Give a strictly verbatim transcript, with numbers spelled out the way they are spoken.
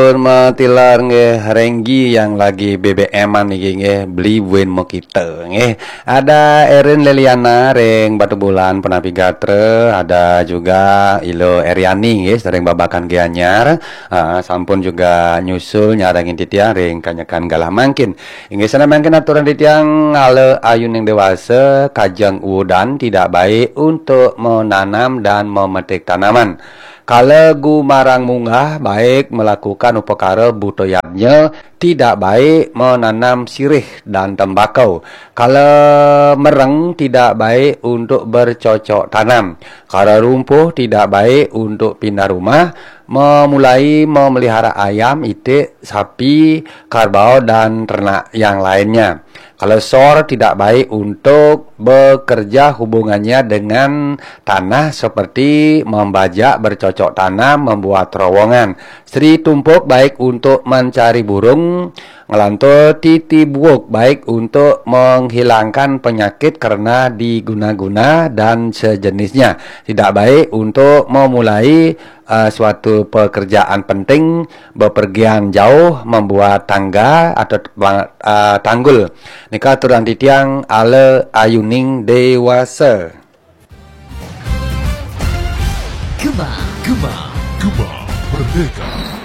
Matur matilar nggih, Renggi yang lagi B B M-an niki nggih, beli buin mokita nggih. Ada Erin Leliana ring Batubulan, Penapi Gatra, ada juga Ilo Eriani nggih, sering babakan Gianyar. Ah, sampun juga nyusul nyarengin titiang ring kanyekan galah mangkin. Inggih sana mangkin aturan titiang, ala ayuning dewasa, kajeng udan tidak baik untuk menanam dan memetik tanaman. Kala gumarang munggah, baik melakukan upakara buta yadnya, tidak baik menanam sirih dan tembakau. Kala mereng, tidak baik untuk bercocok tanam. Kala rumpuh, tidak baik untuk pindah rumah, memulai memelihara ayam, itik, sapi, karbau, dan ternak yang lainnya. Kalau sor tidak baik untuk bekerja hubungannya dengan tanah seperti membajak, bercocok tanam, membuat terowongan. Sri tumpuk baik untuk mencari burung, ngelantur titi buuk baik untuk menghilangkan penyakit karena diguna-guna dan sejenisnya. Tidak baik untuk memulai uh, suatu pekerjaan penting, bepergian jauh, membuat tangga atau uh, tanggul. Nika aturan titiang ala ayuning dewasa. Gema, gema, gema, merdeka.